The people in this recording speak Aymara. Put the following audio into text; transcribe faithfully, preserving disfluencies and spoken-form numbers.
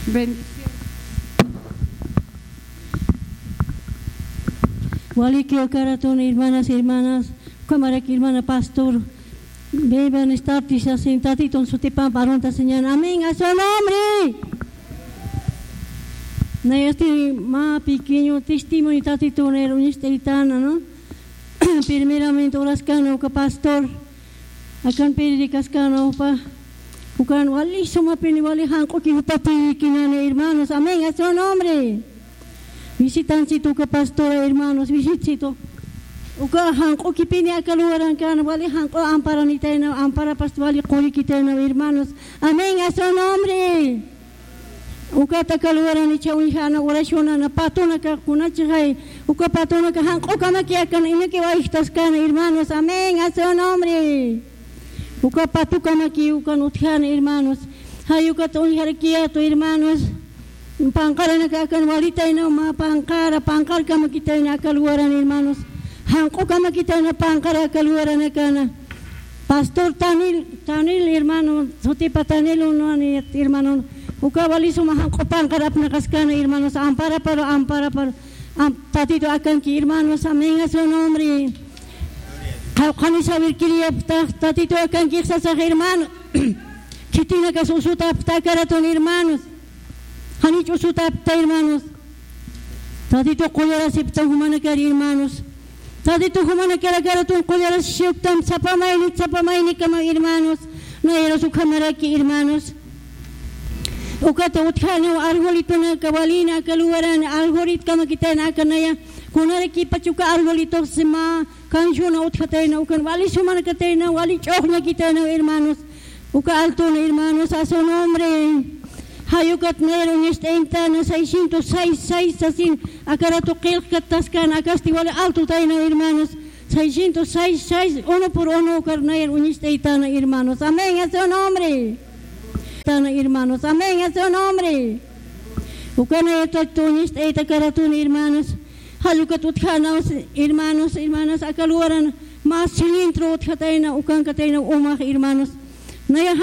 Bendición. Walikiw akaratun, hermanas, hermanas, ukhamaraki hermana pastor, buenas tardes, sasin Tatitun sutipan arunta señan. Amén, a su nombre. Nayasti mä pequeño testimonio Tatitun uñacht'aytana, ¿no? Primeramente, uraskana uka pastor, akan predicaskäna upa, ukan wali sumapini wali janq'uki jupapi kinani, hermanos. Amén, a su nombre. Visitanchit uka pastora, hermanos, visitchit. Uka janq'ukipini aka lugarankäna wali janq'u amparanitayna, amparapas wali qurikitayna, hermanos. Amén, a su nombre. Ukat aka lugaran icha uñjäna, oracionana, patunaka, kunachixay, uka patunaka janq'ukamaki akan inaki wayjtaskäna, hermanos. Amén, a su nombre. Uka patukamaki ukan utjäna, hermanos. Jay ukat uñjarakiyätu, hermanos. Panqaranaka akan walitayna, mä panqara, panqarkamakitayna aka lugaran, hermanos. Janq'ukamakitayna panqara aka lugaranakana. Pastor Tanil, Tanil, hermano, sutipa Tanil, uno, ani, hermano, uka wali suma janq'u panqar apnaqaskäna, hermanos, amparapar, amparapar, am-, Tatito akanki, hermanos, amén a su nombre. Qawqhanis jawirkiriyapxtax, Tatito akanki sasax, hermano. Khitinakas usutapxta akaratun, hermanos. Janich usutapxta, hermanos. Tatito qullarasipxtam jumanakar, hermanos. Tatito jumanakar akaratun qullarasisipxtam, sapa mayni, sapa maynikama, hermanos. Nayaras ukhamaraki, hermanos. Ukata utjäniw arjolitunaka walïna aka lugaran, arjolitkamakitayna aka naya. Kunarakipacha uka arjolituxsi mä canción utjatayna, ukan wali sumanakatayna, wali ch'uxñakitayna, hermanos. Uka altuna, hermanos, a su nombre. Jay ukat nayar uñacht'aytana seiscientos seis seis sasin, aka ratu qillqkattaskäna, akasti wali altutayna, hermanos. Seiscientos seis seis, uno por uno, ukar nayar uñacht'aytana, hermanos. Amén, a su nombre. Tana, hermanos. Amén, a su nombre. Uka nayar Tatito uñacht'ayta aka ratun, hermanos. Jall ukat utjänaw, hermanos, hermanas, aka lugaran mä cilindro utjatayna, ukankatayna umax, hermanos. Naya